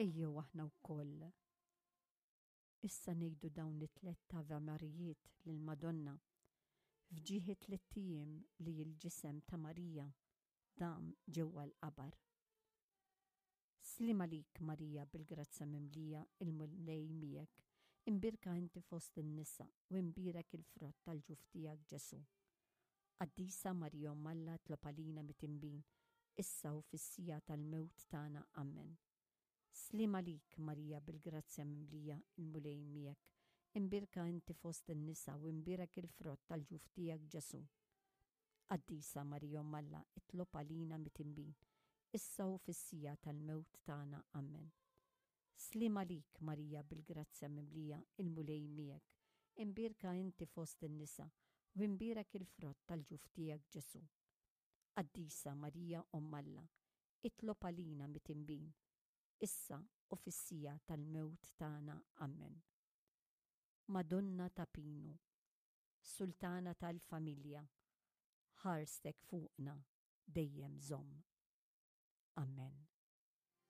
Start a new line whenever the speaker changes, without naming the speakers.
Ejjew aħna wkoll issa ngħidu dawn it-tlett Ave Marijiet lill-Madonna f'ġieħ it-tlett ijiem li l-ġisem ta' Marija dam ġewwa l-qabar. Sliem għalik Marija bil-grazzja mimlija il-Mulej miegħek, imbierka inti fost in-nisa u imbierek il-frott tal-ġuf tiegħek Ġesù. Qaddisa Marija Omm Alla tlob għalina mitinbin, issa u fis-siegħa tal-mewt tagħna. Ammen. Sliem għalik Marija bil-grazzja mimlija il-Mulej miegħek, imbierka inti fost in-nisa u imbierek il-frott tal-ġuf tiegħek Ġesù. Qaddisa Marija Omm Alla itlob għalina mitinbin, issa u fis-siegħa tal-mewt tagħna. Ammen. Sliem għalik Marija bil-grazzja mimlija il-Mulej miegħek, imbierka inti fost in-nisa u imbierek il-frott tal-ġuf tiegħek Ġesù. Qaddisa Marija Omm Alla, itlob għalina mitinbin, issa u fis-siegħa tal-mewt tagħna. Ammen. Madonna ta' Pinu, Sultana tal-familja, ħarstek fuqna dejjem żomm. Ammen.